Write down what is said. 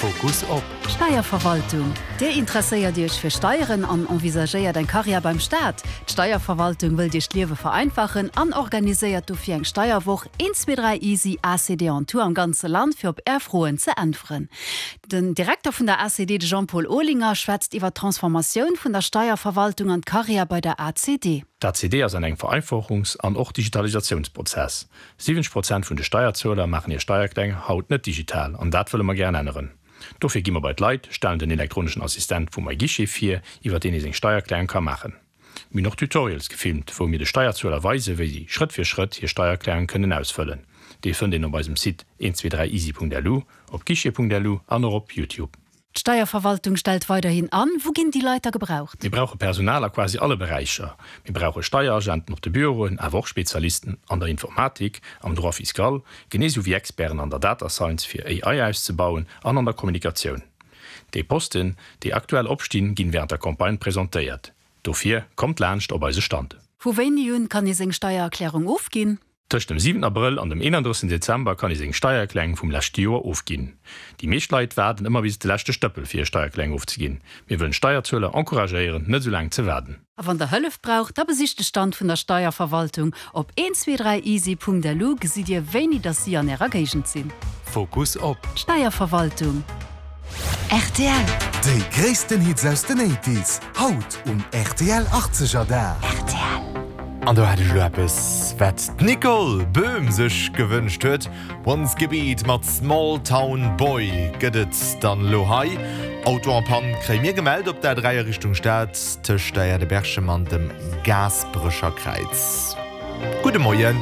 Fokus op. Steierverwaltung. Dir interesséiert Iech fir Steieren an envisagéiert eng Karriär beim Staat? D'Steierverwaltung wëllt Iech d'Liewe vereinfachen an organiséiert dofir eng Steierwoch 1, 2, 3 Easy ACD en Tour am ganze Land fir op Är Froen ze äntweren. Den Direkter vun der ACD, de Jean-Paul Olinger, schwätzt iwwer d'Transformatioun vun der Steierverwaltung an d'Karriär bei der ACD. D'ACD ass an engem Vereinfachungs an och Digitalisatiounsprozess. 70 Prozent vun de Steierzueler maachen hir Steiererklärung haut net digital an dat wëlle mer gären änneren. Dofir gi mer bei d'Leit, stellen den elektroneschen Assistent vu MyGuichet vir, iwwer deen ee seng Steiererklärung ka maachen. Mir hunn och Tutorials gefilmt, wou mir de Steierzueler weisen, wéi si Schrëtt fir Schrëtt hir Steiererklärung kënnen ausfëllen. Déi fënnt een op eisem Site 123easy.lu, op guichet.lu an och op Youtube. D'Steierverwaltung stellt weiderhin an. Wou ginn déi Leit da gebraucht? Mir brauche Personal a quasi alle Beräicher. Mir brauche Steieragenten op de Büroen, awer och Spezialisten an der Informatik, am Droit fiscal, genee sou wéi Experten an der Data Science fir AI auszebauen an an der Kommunikatioun. Déi Posten, déi aktuell opstinn, ginn wärend der Campagne presentéiert. Dofir kommt laanscht op eise Stand. Vu wéini un kann ee seng Steiererklärung ofginn? Tëscht dem 7 Abrëll an dem 31 Dezember kann ee seng Steiererklärung vum leschte Joer ofginn. Déi meescht Leit waarden ëmmer bis de leschte Stëppel fir hir Steiererklärung ofzeginn. Mir wëllen d'Steierzueler encouragéieren, net esou laang ze waarden. A wann der Hëllef braucht, da besicht de Stand vun der Steierverwaltung. Op 123easy.lu gesitt dir wéini dass si an ärer Géigend sinn. Fokus op. D'Steierverwaltung. Rtl. Déi gréissten Hits aus den Eighties, haut um rtl 80er Dag. Rtl. An do hat ech elo eppes, wat d'Nicole Boehm sech gewënscht huet. Once Gebeat mat Small Town Boy gëtt et dann elo hei. Auto en panne kréie mir gemellt op der A3 a Richtung Stad tëscht der Aire de Berchem an dem Gaasperecher Kräiz. Gudde Moien.